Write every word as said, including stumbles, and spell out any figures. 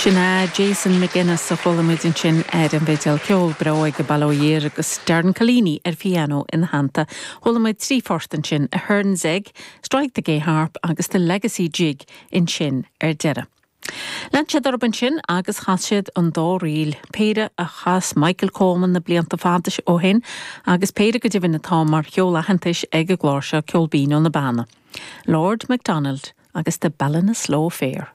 Sin é Jason McGuinness a chuala muid ansin ar an bhfidil ceol breá ag bail ó Dhia air agus Darren Collini ar piano ina theannta. Chuala muid trí phort ansin Ahern's Egg, Strike the Gay Harp agus the Legacy Jig ansin ar deireadh. Lean siad orthu ansin agus chas siad an dá ríl, péire a chas Michael Coleman na blianta fada ó shin agus péire go deimhin atá mar cheol aitheantais ag an gclár seo Ceol Binn ó na Beanna. Lord MacDonald agus the Ballinasloe Fair.